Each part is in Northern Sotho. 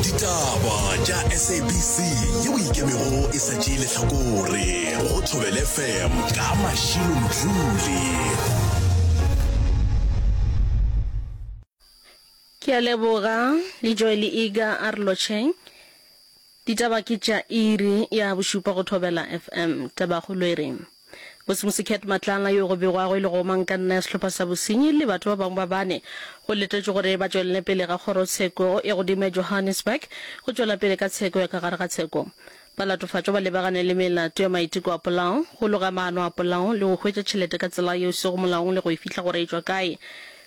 Ditaba tša SABC yeo e ikemego e sa tšee lehlakore go Thobela FM ka Mashilo Mdluli. Ke a leboga le Joy le Iga a re lotšheng. Ditaba ke tša iri ya bošupa go Thobela FM. Tabakgolo e re, Bosemosi Cat Matlala yo go begwago e le gomangkanna ya sehlopha sa bosenyi le batho ba bangwe ba bane go letetšwe gore ba tšwelele pele ga kgorotsheko ya godimo ya Johannesburg go tšwela pele ka tsheko ya ka gare ga tsheko. Balatofatšwa ba lebagane le melato ya maiteko a polao, go loga maano a polao le go hwetša tšhelete ka tsela yeo e sego molaong le go e fihla gore e tšwa kae.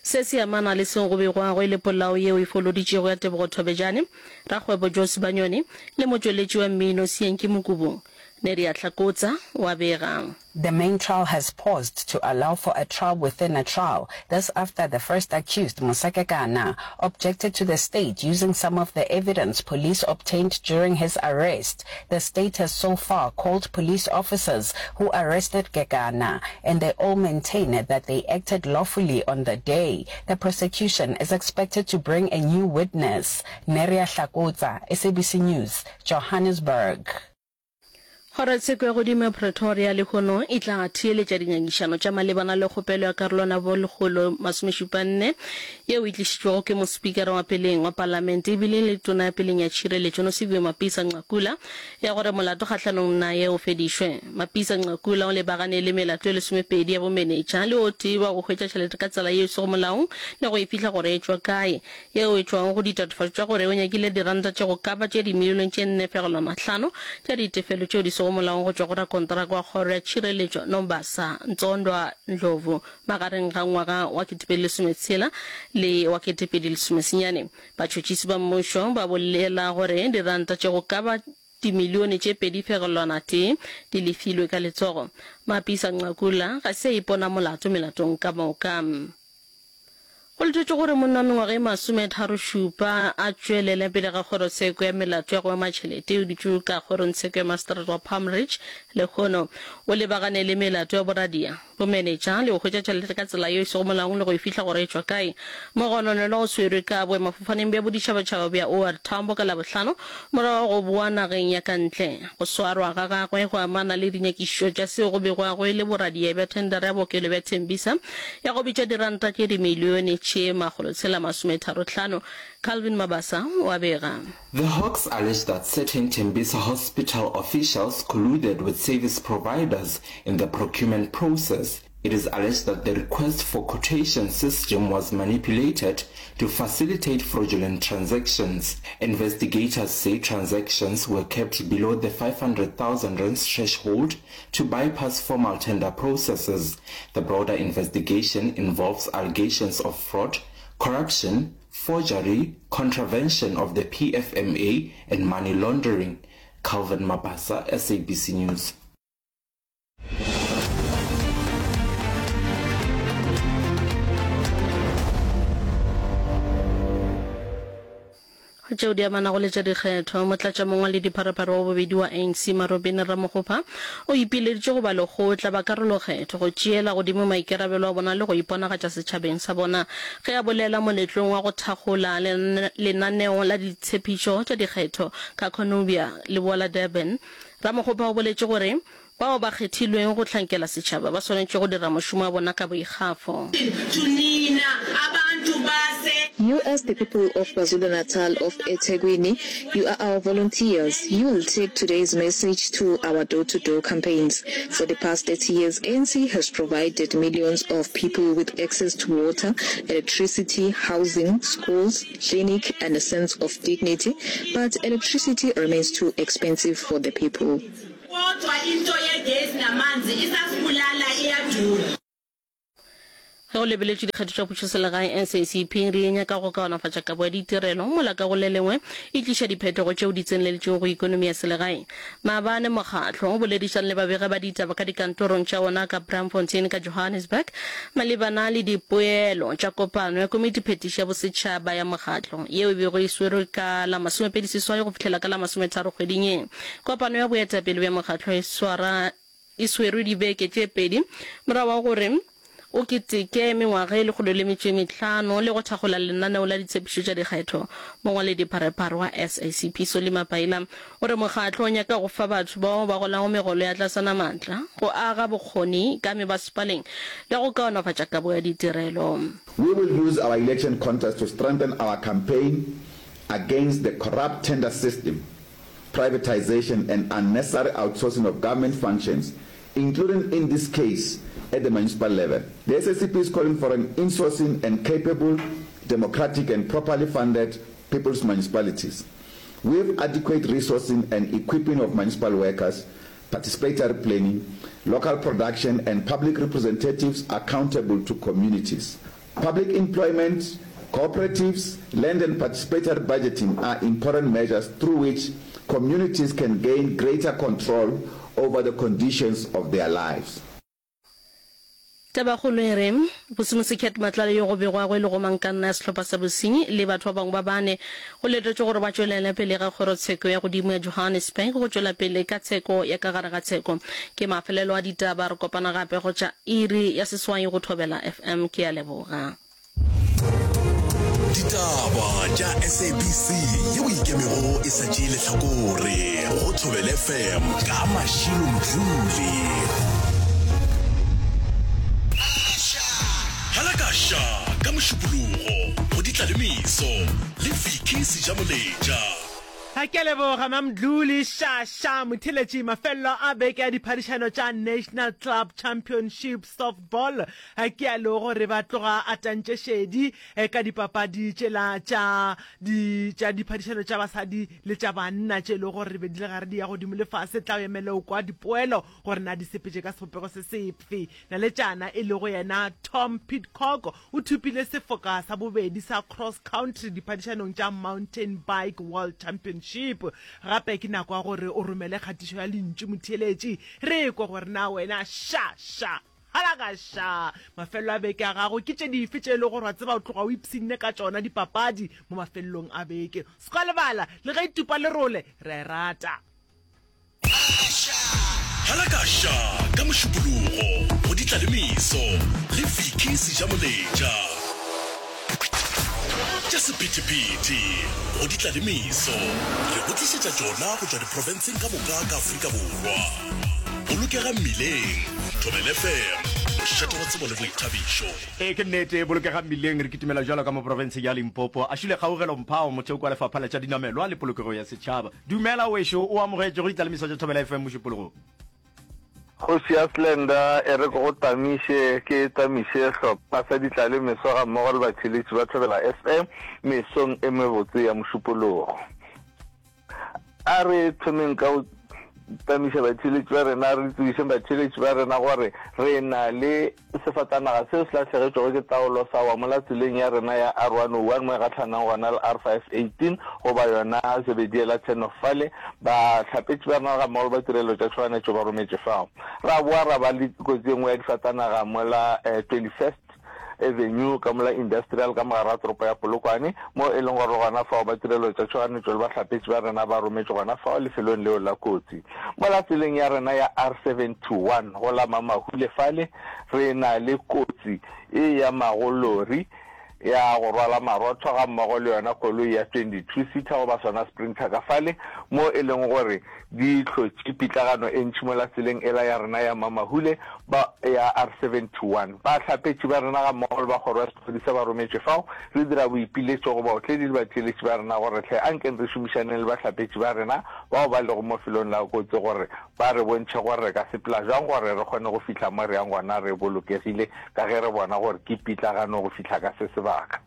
Se se amana le seo go begwago e le polao yeo e foloditšego ya Tebogo Thobejane, rakgwebo Joe Sibanyoni le motšweletši wa mmino Sienki Mokubung. Neria Hlakotsa o a bega. The main trial has paused to allow for a trial within a trial. This after the first accused, Musa Kekana, objected to the state using some of the evidence police obtained during his arrest. The state has so far called police officers who arrested Kekana, and they all maintain that they acted lawfully on the day. The prosecution is expected to bring a new witness. Neria Hlakotsa, SABC News, Johannesburg. Kgorotsheko ya Godimo ya Pretoria lehono e tla theeletša dingangišano tša malebana le kgopelo ya karolwana bo 174 yeo e tlišitšwego ke mospikara wa peleng wa palamente ebile e le tona ya peleng ya tšhireletšo Nosiviwe Mapisa Nqakula ya gore molato kgahlanong naye o fedišwe. Mapisa Nqakula o lebagane le melato e lesomepedi ya bomenetša le o tee wa go hwetša tšhelete ka tsela yeo e sego molaong le go e fihla gore e tšwa kae. yeo e tšwago go ditatofatšo tša gore o nyakile diranta tše go ka ba tše dimilione tše 4,5 tša ditefelo tšeo di sego molaong go tšwa go rakonteraka wa Kgoro ya Tšhireletšo Nombasa Ntsondwa Ndlovu magareng ga ngwaga wa 2016 le wa 2019. Batšhotšhisi ba mmušo ba bolela gore diranta tše go ka ba dimilione tše 2,1 di lefilwe ka letsogo. Mapisa Nqakula ga se a ipona molato melatong ka moka. Go letetšwe gore monna wa mengwaga e masometharošupa a tšwelele pele ga kgorotsheko ya melato ya go ema tšhelete o dutše ka kgorongtsheko ya maseterata wa Palm Ridge lehono. O lebagane le melato ya boradia, bomenetša le go hwetša tšhelete ka tsela yeo e sego molaong le go e fihla gore e tšwa kae. Mogononelwa o swerwe ka boemafofaneng bja boditšhabatšhaba bja OR Tambo ka Labohlano morago ga go boa nageng ya ka ntle. Go swarwa ga gagwe go amana le dinyakišišo tša seo go begwago e le boradia bja thendara ya bookelo bja Tembisa ya go bitša diranta tše dimilione tše makgolotshela-masometharohlano. Calvin Mabasa o a bega. The Hawks allege that certain Tembisa Hospital officials colluded with service providers in the procurement process. It is alleged that the request for quotation system was manipulated to facilitate fraudulent transactions. Investigators say transactions were kept below the 500,000 rands threshold to bypass formal tender processes. The broader investigation involves allegations of fraud, corruption, forgery, contravention of the PFMA and money laundering. Calvin Mabasa, SABC News. Go tšeo di amanago le tša dikgetho, motlatšamongwaledipharephare wa bobedi wa ANC Marobini Ramokgopa o ipileditše go balekgotla ba karolokgetho go tšeela godimo maikarabelo a bona le go iponagatša setšhabeng sa bona ge a bolela moletlong wa go thakgola lenaneo la ditshepišo tša dikgetho ka Cornubia, leboa la Durban. Ramokgopa o boletše gore Bao ba kgethilweng go hlankela setšhaba ba swanetše go dira mošomo wa bona ka boikgafo. You as the people of KwaZulu-Natal, of eThekwini, you are our volunteers. You will take today's message to our door-to-door campaigns. For the past 30 years, ANC has provided millions of people with access to water, electricity, housing, schools, clinic and a sense of dignity, but electricity remains too expensive for the people. Kodwa into yegesi namanzi isasibulala iyadura. Ge go lebeletšwe dikgetho tša pušoselegae, SACP e re e nyaka go kaonafatša kabo ya ditirelo, mola ka go le lengwe e tliša diphetogo tšeo di tseneletšego go ikonomi ya selegae. Maabane mokgatlo o boledišane le babegi ba ditaba ka dikantorong tša wona ka Braamfontein ka Johannesburg malebana le dipoelo tša kopano ya komitiphetiši ya bosetšhaba ya mokgatlo yeo e bego e swerwe ka la masomepeliseswai go fihlela ka la masometharo kgweding ye. Kopano ya boetapele bja mokgatlo e swara e swerwe dibeke tše pedi morago ga gore. o keteke mengwaga e 105 le go thakgola lenaneo la ditshepišo tša dikgetho. Mongwaledipharephare wa SACP Solly Mapaila o re mokgatlo o nyaka go fa batho bao ba golago megolo ya tlasana maatla go aga bokgoni ka mebasepaleng le go kaonafatša kabo ya ditirelo. We will use our election contest to strengthen our campaign against the corrupt tender system, privatisation and unnecessary outsourcing of government functions, including in this case at the municipal level. The SACP is calling for an insourcing and capable, democratic and properly funded people's municipalities with adequate resourcing and equipping of municipal workers, participatory planning, local production and public representatives accountable to communities. Public employment, cooperatives, land and participatory budgeting are important measures through which communities can gain greater control over the conditions of their lives. Tabakgolo e re, Vusimusi Cat Matlala yo go begwago e le gomangkanna ya sehlopha sa bosenyi le batho ba bangwe ba bane go letetšwe gore ba tšwelele pele ga kgorotsheko ya godimo ya Johannesburg go tšwela pele ka tsheko ya ka gare ga tsheko. Ke mafelelo a ditaba, re kopana gape go tša iri ya seswai go Thobela FM. Ke a leboga. Ditaba tša SABC yeo ikemego e sa tšee lehlakore go Thobela FM ka Mashilo Mdluli. Halakasha ka Mošupologo go Ditlalemeso le Vicky Sejamoletša. A ke a leboga Mamdluli Shasha Motheletši. Mafelelo a beke ya diphadišano tša National Club Championship Softball ke a lego gore ba tloga a tantše šedi ka dipapadi tšela tša di tša diphadišano tša basadi le tša banna tše e lego gore be di le gare di ya godimo le fase. Tla o emele o kwa dipoelo gore na di sepetše ka sebopego se sefe. Naletšana e lego yena Tom Pidcock O thopile sefoka sa bobedi sa Cross Country diphadišanong tša Mountain Bike World Championship. Gape ke nako ya gore o romele kgatišo ya lentšu motheeletši re ekwe gore na wena ša ša halaka ša mafelelo a beke a gago ke tše dife tše e lego gore wa tseba o tloga o ipshinne ka tšona dipapadi mo mafelelong a beke. Se ka lebala le ge e tupa lerole re a e rata. Halakaša ka Mošupologo go Ditlalemeso le Vicky Sejamoletša. Tša sephethephethe go Ditlalemeso re go tlišetša tšona go tšwa diprofenseng ka moka ka Afrika Borwa. Bolokega mmileng, Thobela FM, mošate wa tsebo le boithabišo. Ee, ke nnete, bolokega mmileng, re kitimela bjalo ka mo profenseng ya Limpopo. A šule Kgaugelo Mphao, motheo kwa Lefapha la tša Dinamelwa le Polokego ya Setšhaba. Dumela wešo, o amogetšwe go ditlalemiso tša Thobela FM Mošupologong. Kgoši ya Slender e re ke go tamiše, ke tamiše hlopha sa ditlalemeso gammogo le batheeletši ba Thobela FM mesong e mebotse ya Mošupologo. A re thomeng ka go tamiša batheeletši ba rena, re tsebišeng batheeletši ba rena gore re na le Sefatanaga seo se lahlegetšwego ke taolo sa wa mola tseleng ya rena ya R101 mo e gahlanang gona le R518 goba yona Zebediela turn-off fale. Bahlapetši ba rena gammogo le ba tirelo tša tšhoganetšo ba rometše fao. Ra boa ra ba le kotsi e nngwe ya difatanaga mola 21st Avenue ka mola Industrial ka mogare ga toropo ya Polokwane mo e leng gore le gona fao ba tirelo tša tšhoganetšo le bahlapetši ba rena ba rometše gona fao lefelong leo la kotsi. Mola tseleng ya rena ya R71 go la Mamahule fale re na le kotsi e yamago lori ya go rwala marotho gammogo le yona koloi ya 22 seater goba sona sprinter ka fale mo e leng gore di hlotše pitlagano e ntši mola tseleng ela ya rena ya Mamahule ba ya R71. Bahlapetši ba rena gammogo le ba kgoro ya sephodisa ba rometšwe fao. Re dira boipiletšo go baotledi le batheeletši ba rena gore hle ankeng re šomišaneng le bahlapetši ba rena bao ba lego mo felong la kotsi gore ba re bontšhe gore re ka sepela bjang gore re kgone go fihla mo re yang gona re bolokegile ka ge re bona gore ke pitlagano go fihla ka se sebaka.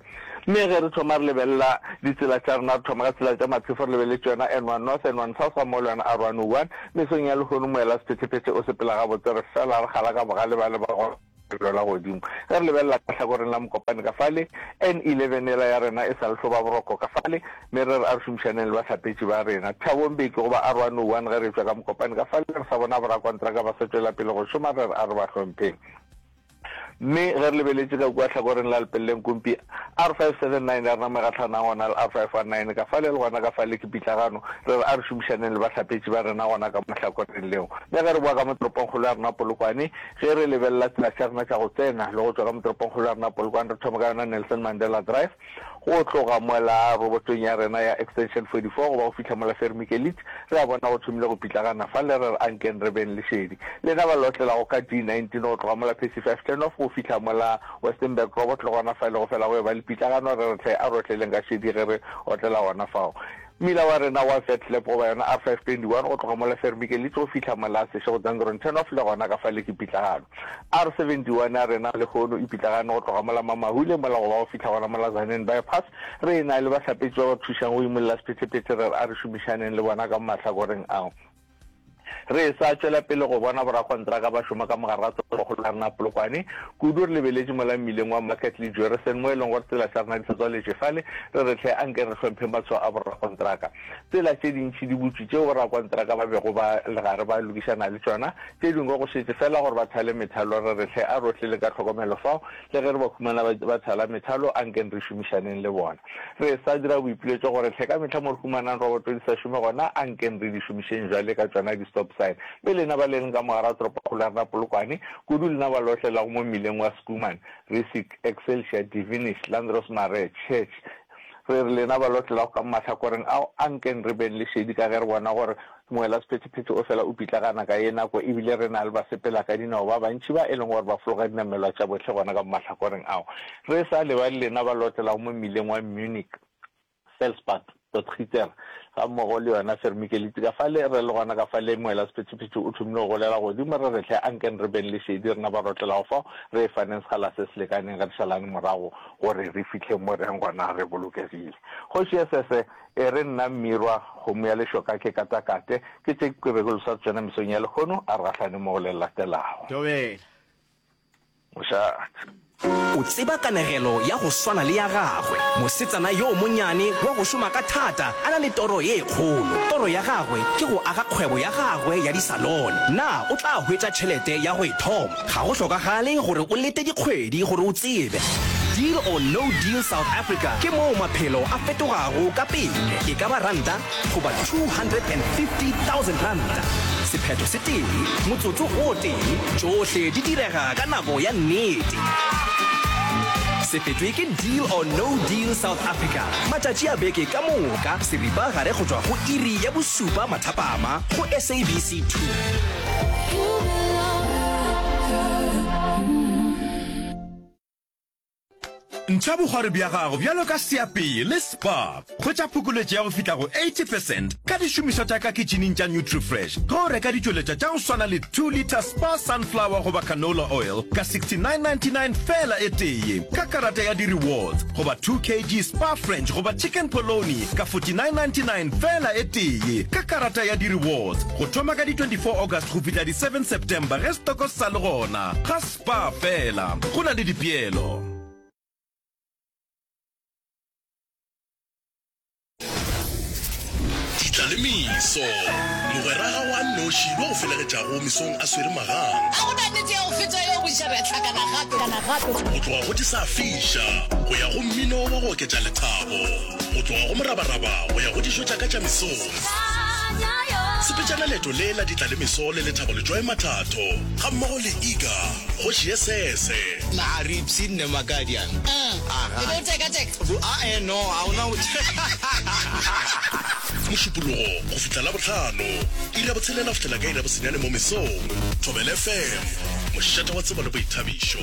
Mme ge re thoma re lebelela ditsela tša rena, re thoma ka tsela tša maphefo re lebeletše yona N1 North, N1 South gammogo le yona R101. Mesong ya lehono moela sephethephethe o sepela gabotse, re fela re kgala ka bogale ba le ba go lebelo la godimo. Ge re lebelela ka hlakoreng la Mokopane ka fale, N11 yela ya rena e sa le hloba boroko ka fale, mme re re a re šomišaneng le bahlapetši ba rena. Thabo Mbeki goba R101 ge re etšwa ka Mokopane ka fale re sa bona borakontraka ba sa tšwela pele go šoma, re re a re ba hlompheng. Mme ge re lebeletše ka kua hlakoreng la Lepelle Nkumpi, R579 ya rena mo e gahlanang gona le R519 ka fale le gona ka fale ke pitlagano, re re a re šomišaneng le bahlapetši ba rena gona ka mo hlakoreng leo. Mme ge re boa ka mo toropongkgolo ya rena Polokwane, ge re lebelela tsela tša rena tša go tsena le go tšwa ka mo toropongkgolo ya rena Polokwane, re thoma ka yona Nelson Mandela Drive, Go tloga mola robotong ya rena ya Extension 44 go ba go fihla mola Fermikelit, re a bona go thomile go pitlagana fale, re re ankeng re beng le šedi. Lena ba lotlelago ka D19 go tloga mola Percy 5 Turnoff go fihla mola Westenburg Robot le gona fale go fela go eba le pitlagano, re re hle a re otleleng ka šedi ge re otlela gona fao. Mmila wa rena wa Vetlep goba yona R521 go tloga mola Vermikelitz go fihla mola Seshego Dangron Turnoff le gona ka fale ke pitlagano. R71 ya rena lehono e pitlagane go tloga mola Mamahule mola go ba go fihla gona mola Tzaneen Bypass. Re e na le bahlapetši ba ba thušang go imolla sephethephethe re re a re šomišaneng le bona ka mo mahlakoreng ao. Re sa tšwela pele go bona borakontraka ba šoma ka mogare ga toropokgolo ya rena Polokwane, kudu re lebeletše mola mmileng wa Market le Jurison mo e leng gore tsela tša rena di sa tswaletšwe fale, re re hle anke re hlompheng matshwao a borakontraka. Tsela tše dintši di butšwe tšeo borakontraka ba bego ba le gare ba lokišana le tšona, tše dingwe go šetše fela gore ba thale methalo, re re hle a rohle le ka tlhokomelo fao, le ge re ba humana ba thala methalo ankeng re šomišaneng le bona. Re sa dira boipiletšo gore hle ka mehla mo re humanang roboto di sa šome gona, ankeng re di šomišeng bjale ka tšona di-stop sign. Mme lena ba le leng ka mo gare ga toropokgolo ya rena Polokwane, kudu lena ba lohle lago mo mmileng wa Schoeman, Rissik, Excelsior, Divinish, Landros Marais, Church, re re lena ba lohle lago ka mo mahlakoreng ao, ankeng re beng le šedi ka ge re bona gore Moelasephethephethe o fela o pitlagana ka ye nako e bile re na le basepelakadinao ba bantši ba e leng gore ba fologa dinamelwa tša bohle gona ka mo mahlakoreng ao. Re sa lebale lena ba lotlelago mo mmileng wa Munich, Felsbach, Potgieter gammogo le yona Vermikelitse ka fale. Re le gona ka fale moelasephethephethe o thomile go golela godimo re re hle ankeng re beng le šedi rena ba rotlelago fao re e faneng sekgala se se lekaneng ge re šalane morago gore re fihle mo re yang gona re bolokegile. Kgoši ya Sese E re nna Mmirwa, kgomo ya lešoka ke katakate, ke tše ke bego le sa tšona mesong ya lehono, a re gahlane mo go le latelago. Thobela. Mošate. O tseba kanegelo ya go swana le ya gagwe, mosetsana yo monyane wa go šoma ka thata a na le toro ye kgolo. Toro ya gagwe ke go aga kgwebo ya gagwe ya disalone. Na o tla hwetša tšhelete ya go e thoma? Ga go hlokagale gore o lete dikgwedi gore o tsebe. Deal or No Deal South Africa ke moo maphelo a fetogago ka pele, e ka ba ranta goba R250,000. Sephetho se tee, motsotso o tee, tšohle di direga ka nako ya nnete. Se fetwe ke Deal or No Deal South Africa matšatši a beke ka moka seripagare go tšwa go iri ya bosupa mathapama go SABC 2. Ntšha bokgwari bja gago bjalo ka seapei le Spar. Hwetša phokoletšo ya go fihla go 80 percent ka dišomišwa tša ka kitšhining tša Nutrifresh ge o reka ditšweletšwa tša go swana le 2 litre Spar Sunflower goba Canola Oil ka 69.99 feela e tee ka karata ya di-rewards goba 2 kg Spar French goba Chicken Polony ka 49.99 feela e tee ka karata ya di-rewards. Go thoma ka di 24 August go fihla di 7 September ge setoko se sa le gona. Ga Spar fela, go na le dipeelo. Ditlalemeso, Mogwera gago a nnoši yo a go felegetšago mesong a swere magang. Ga go na nnete ya go feta yeo boša re a hlakana gape. Go tloga go di sa fiša go ya go mmino wa go oketša lethabo. Go tloga go morabaraba go ya go dijo tša ka tša mesong. Sepetšana leeto le la ditlalemeso le Lethabo Letšoe Mathatho gammogo le Iga Kgoši ye Sese. Na a re ipshinne Makadiana? Aga. E be o tekateka? Bo, a-e, no, ga o na go. Mošupologo go fihla Labohlano, iri ya botshelela go fihlela ka iri ya bosenyane mo mesong. Thobela FM, mošate wa tsebo le boithabišo.